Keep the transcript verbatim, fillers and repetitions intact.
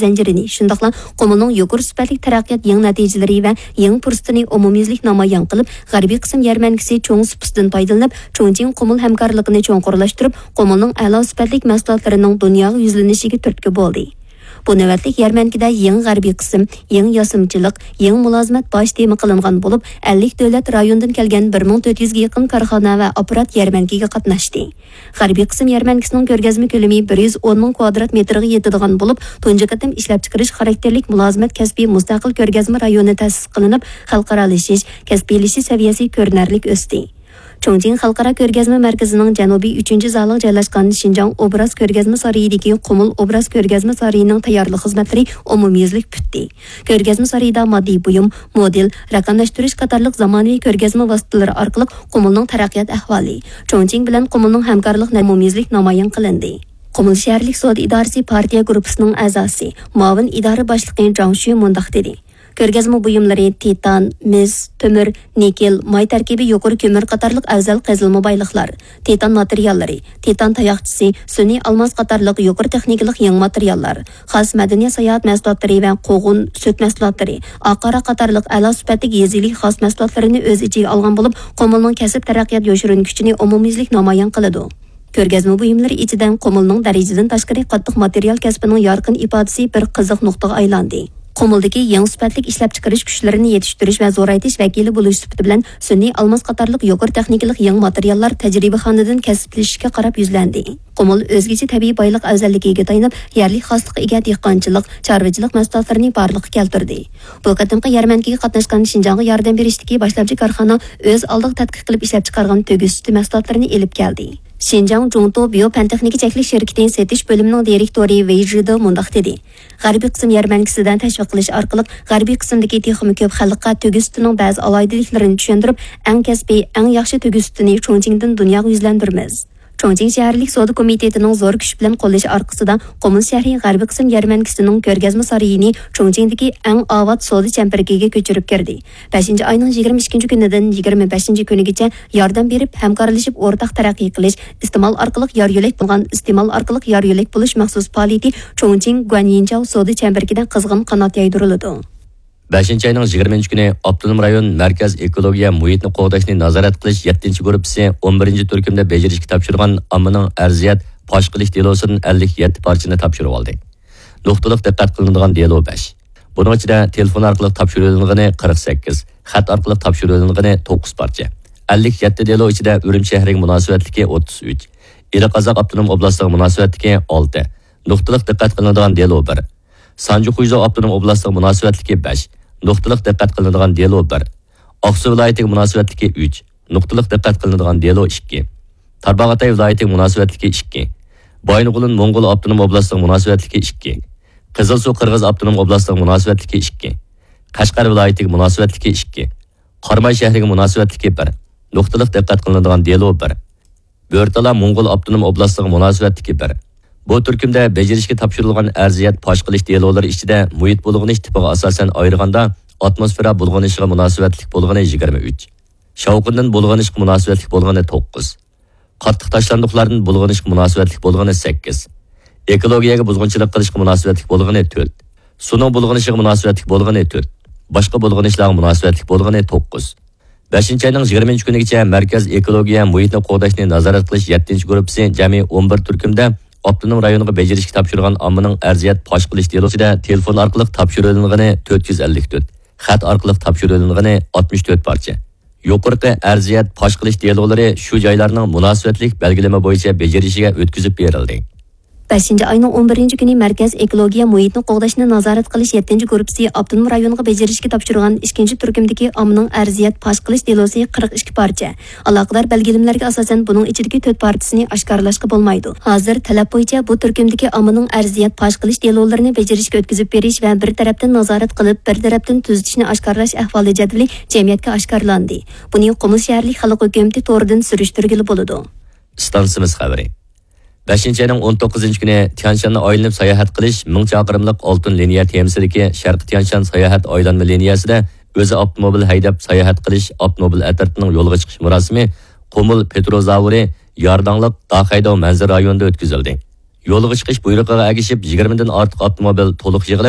زەنجىرىنى، شۇنداقلا قۇمۇلنىڭ يۇقىرى سۈپەتلىك تەرەققىيات يېڭى نەتىجىلىرى ۋە يېڭى پۇرسىتىنى ئومۇميۈزلۈك نامايان قىلىپ، غەربىي قىسىم يەرمەنكىسى چوڭ سۇپىسىدىن پايدىلىنىپ، چۇڭچىڭ قۇمۇل ھەمكارلىقىنى چوڭقۇرلاشتۇرۇپ، قۇمۇلنىڭ ئەلا سۈپەتلىك مەھسۇلاتلىرىنىڭ دۇنياغا يۈزلىنىشىگە تۈرتكە بولدى. بۇ نۆۋەتلىك يەرمەنكىدە يېڭى غەربىي قىسىم، يېڭى ياسىمىچىلىق، يېڭى مۇلازىمەت باش تېما قىلىنغان بولۇپ، ئەللىك دۆلەت رايونىدىن كەلگەن بىر مىڭ تۆت يۈزگە يېقىن كارخانا ۋە ئاپپارات يەرمەنكىگە قاتناشتى. غەربىي قىسىم يەرمەنكىسىنىڭ كۆرگەزمە كۆلىمى بىر يۈز ئون مىڭ كۋادرات مېتىرغا يېتىدىغان بولۇپ، تۇنجى قېتىم ئىشلەپچىقىرىش خاراكتېرلىك مۇلازىمەت كەسپى مۇستەقىل كۆرگەزمە رايونى تەسىس قىلىنىپ، خەلقئارالىشىش، كەسپىيلىشىش سەۋىيەسى كۆرۈنەرلىك ئۆستى. چۇڭچىڭ خەلقئارا كۆرگەزمە مەركىزىنىڭ جەنۇبىي ئۈچىنچى زالىغا جايلاشقان شىنجاڭ ئوبراز كۆرگەزمە سارىيىدىكى قۇمۇل ئوبراز كۆرگەزمە سارىيىنىڭ تەييارلىق خىزمەتلىرى ئومۇميۈزلۈك پۈتتى. كۆرگەزمە سارىيىدا ماددىي بۇيۇم، مودېل، رەقەملەشتۈرۈش قاتارلىق زامانىۋى كۆرگەزمە ۋاسىتىلىرى ئارقىلىق قۇمۇلنىڭ تەرەققىيات ئەھۋالى، چۇڭچىڭ بىلەن قۇمۇلنىڭ ھەمكارلىق ئومۇميۈزلۈك نامايان قىلىندى. قۇمۇل شەھەرلىك سودا ئىدارىسى پارتىيە گۇرۇپپىسىنىڭ ئەزاسى، مۇئاۋىن ئىدارە باشلىقى جاڭ شۈ مۇنداق دېدى: كۆرگەزمە بۇيۇملىرى تىتان، مىس، تۆمۈر، نىكېل، ماي تەركىبى يۇقىرى كۆمۈر قاتارلىق ئەۋزەل قېزىلما بايلىقلار، تىتان ماتېرىياللىرى، تىتان تاياقچىسى، سۈنئىي ئالماس قاتارلىق يۇقىرى تېخنىكىلىق يېڭى ماتېرىياللار، خاس مەدەنىيەت ساياھەت مەھسۇلاتلىرى ۋە قوغۇن، سۈت مەھسۇلاتلىرى، ئاق ھاراق قاتارلىق ئەلا سۈپەتلىك يېزا ئىگىلىكى خاس مەھسۇلاتلىرىنى ئۆز ئىچىگە ئالغان بولۇپ، قۇمۇلنىڭ كەسىپ تەرەققىيات يوشۇرۇن كۈچىنى ئومۇميۈزلۈك نامايان قىلىدۇ. كۆرگەزمە بۇيۇملىرى ئىچىدە قۇمۇلنىڭ دەرىجىدىن تاشقىرى قاتتىق ماتېرىيال كەسپىنىڭ يارقىن ئىپادىسى بىر قىزىق نۇقتىغا ئايلاندى. قۇمۇلدىكى يېڭى سۈپەتلىك ئىشلەپچىقىرىش كۈچلىرىنى يېتىشتۈرۈش ۋە زورايتىش ۋەكىلى بولۇش سۈپىتى بىلەن سۈنئىي ئالماس قاتارلىق يۇقىرى تېخنىكىلىق يېڭى ماتېرىياللار تەجرىبىخانىدىن كەسىپلىشىشكە قاراپ يۈزلەندى. قۇمۇل ئۆزگىچە تەبىئىي بايلىق ئەۋزەللىكىگە تايىنىپ، يەرلىك خاسلىققا ئىگە دېھقانچىلىق، چارۋىچىلىق مەھسۇلاتلىرىنى بارلىققا كەلتۈردى. بۇ قېتىمقى يەرمەنكىگە قاتناشقان شىنجاڭغا ياردەم بېرىشتىكى باشلامچى كارخانا ئۆز ئالدىغا تەتقىق قىلىپ ئىشلەپچىقارغان تۆگە سۈتى مەھسۇلاتلىرىنى ئېلىپ كەلدى. شىنجاڭ جۇڭتو بىيو پەن تېخنىكا چەكلىك شىركىتى سېتىش بۆلۈمىنىڭ دىرېكتورى ۋېي ژىدې مۇنداق دېدى: غەربىي قىسىم يەرمەنكىسىدە تەشۋىق قىلىش ئارقىلىق، غەربىي قىسىمدىكى تېخىمۇ كۆپ خەلققە تۆگە سۈتىنىڭ بەزى ئالاھىدىلىكلىرىنى چۈشەندۈرۈپ، ئەڭ كەسپىي، ئەڭ ياخشى تۆگە سۈتىنى چۇڭچىڭدىن دۇنياغا يۈزلەندۈرىمىز. چۇڭچىڭ شەھەرلىك سودا كومىتېتىنىڭ زور كۈچ بىلەن قوللىشى ئارقىسىدا، قۇمۇل شەھىرى غەربىي قىسىم يەرمەنكىسىنىڭ كۆرگەزمە سارىيىنى چۇڭچىڭدىكى ئەڭ ئاۋات سودا چەمبىرىكىگە كۆچۈرۈپ كىردى. بەشىنچى ئاينىڭ يىگىرمە ئىككىنچى كۈنىدىن يىگىرمە بەشىنچى كۈنىگىچە ياردەم بېرىپ، ھەمكارلىشىپ ئورتاق تەرەققىي قىلىش، ئىستېمال ئارقىلىق يار يۆلەك بولغان، ئىستېمال ئارقىلىق يار يۆلەك بولۇش مەخسۇس پائالىيىتى چۇڭچىڭ گۇەنيىنجاۋ سودا چەمبىرىكىدە قىزغىن قانات يايدۇرۇلىدۇ. بەشىنچى ئاينىڭ يىگىرمىنچى كۈنى ئاپتونوم رايون مەركەز ئېكولوگىيە مۇھىتنى قوغداشنى نازارەت قىلىش يەتتىنچى گۇرۇپپىسى ئون بىرىنچى تۈركۈمدە بېجىرىشكە تاپشۇرغان ئاممىنىڭ ئەرزىيەت پاش قىلىش دېلوسىدىن ئەللىك يەتتە پارچىنى تاپشۇرۇۋالدى. نۇقتىلىق دىققەت قىلىنىدىغان دېلو بەش. بۇنىڭ ئىچىدە تېلېفون ئارقىلىق تاپشۇرۇۋېلىنغىنى قىرىق سەككىز، خەت ئارقىلىق تاپشۇرۇۋېلىنغىنى توققۇز پارچە. ئەللىك يەتتە دېلو ئىچىدە ئۈرۈمچى شەھىرىگە مۇناسىۋەتلىكى ئوتتۇز ئۈچ، ئىلى قازاق ئاپتونوم ئوبلاستىغا مۇناسىۋەتلىكى ئالتە، نۇقتىلىق دىققەت قىلىنىدىغان دېلو بىر، سانجى خۇيزۇ ئاپتونوم ئوبلاستىغا مۇناسىۋەتلىكى بەش، نۇقتىلىق دىققەت قىلىنىدىغان دېلو بىر، ئاقسۇ ۋىلايىتىگە مۇناسىۋەتلىكى ئۈچ، نۇقتىلىق دىققەت قىلىنىدىغان دېلو ئىككى، تارباغاتاي ۋىلايىتىگە مۇناسىۋەتلىكى ئىككى، بايىنغولىن موڭغۇل ئاپتونوم ئوبلاستىغا مۇناسىۋەتلىكى ئىككى، قىزىلسۇ قىرغىز ئاپتونوم ئوبلاستىغا مۇناسىۋەتلىكى ئىككى، قەشقەر ۋىلايىتىگە مۇناسىۋەتلىكى ئىككى، قاراماي شەھىرىگە مۇناسىۋەتلىكى بىر، نۇقتىلىق دىققەت قىلىنىدىغان دېلو بىر، بۆرتالا موڭغۇل ئاپتونوم ئوبلاستىغا مۇناسىۋەتلىكى بىر. بۇ تۈركۈمدە بېجىرىشكە تاپشۇرۇلغان ئەرزىيەت پاش قىلىش دېلولىرى ئىچىدە مۇھىت بۇلغىنىش تىپىغا ئاساسەن ئايرىغاندا، ئاتموسفېرا بۇلغىنىشىغا مۇناسىۋەتلىك بولغىنى يىگىرمە ئۈچ، شاۋقۇندىن بۇلغىنىشقا مۇناسىۋەتلىك بولغىنى توققۇز، قاتتىق تاشلاندۇقلاردىن بۇلغىنىشقا مۇناسىۋەتلىك بولغىنى سەككىز، ئېكولوگىيەگە بۇزغۇنچىلىق قىلىشقا مۇناسىۋەتلىك بولغىنى تۆت، سۇنىڭ بۇلغىنىشىغا مۇناسىۋەتلىك بولغىنى تۆت، باشقا بۇلغىنىشلارغا مۇناسىۋەتلىك بولغىنى توققۇز. بەشىنچى ئاينىڭ يىگىرمىنچى كۈنىگىچە مەركەز ئېكولوگىيە مۇھىتنى قوغداشنى نازارەت قىلىش يەتتىنچى گۇرۇپپىسى جەمئىي ئون بىر تۈركۈمدە ئاپتونوم رايونغا بېجىرىشكە تاپشۇرغان ئاممىنىڭ ئەرزىيەت پاش قىلىش دېلوسىدا تېلېفون ئارقىلىق تاپشۇرۇۋېلىنغىنى تۆت يۈز ئەللىك تۆت، خەت ئارقىلىق تاپشۇرۇۋېلىنغىنى ئاتمىش تۆت پارچە. يۇقىرىقى ئەرزىيەت پاش قىلىش دېلولىرى شۇ جايلارنىڭ مۇناسىۋەتلىك بەلگىلىمە بويىچە بېجىرىشىگە ئۆتكۈزۈپ بېرىلدى. بەشىنچى ئاينىڭ ئون بىرىنچى كۈنى مەركەز ئېكولوگىيە مۇھىتنى قوغداشنى نازارەت قىلىش يەتتىنچى گۇرۇپپىسى ئاپتونوم رايونغا بېجىرىشكە تاپشۇرغان ئىككىنچى تۈركۈمدىكى ئاممىنىڭ ئەرزىيەت پاش قىلىش دېلوسى قىرىق ئىككى پارچە. ئالاقىدار بەلگىلىمىلەرگە ئاساسەن، بۇنىڭ ئىچىدىكى تۆت پارچىسىنى ئاشكارىلاشقا بولمايدۇ. ھازىر تەلەپ بويىچە بۇ تۈركۈمدىكى ئاممىنىڭ ئەرزىيەت پاش قىلىش دېلولىرىنى بېجىرىشكە ئۆتكۈزۈپ بېرىش ۋە بىر تەرەپتىن نازارەت قىلىپ، بىر تەرەپتىن تۈزىتىشنى ئاشكارىلاش ئەھۋالى جەدۋىلى جەمئىيەتكە ئاشكارىلاندى. بۇنى قۇمۇل شەھەرلىك خەلق ھۆكۈمىتى تورىدىن سۈرۈشتۈرگىلى بولىدۇ. ئىستانسىمىز خەۋىرى. بەشىنچى ئاينىڭ ئون توققۇزىنچى كۈنى تيانشاننى ئايلىنىپ ساياھەت قىلىش مىڭ چاقىرىملىق ئالتۇن لىنىيە تېمىسىدىكى شەرقىي تيانشان ساياھەت ئايلانما لىنىيەسىدە ئۆزى ئاپتوموبىل ھەيدەپ ساياھەت قىلىش ئاپتوموبىل ئەترىتىنىڭ يولغا چىقىش مۇراسىمى قۇمۇل پېتروزاۋرى يارداڭلىق داخەيداۋ مەنزىرە رايونىدا ئۆتكۈزۈلدى. يولغا چىقىش بۇيرۇقىغا ئەگىشىپ، يىگىرمىدىن ئارتۇق ئاپتوموبىل تولۇق يىغىلىپ،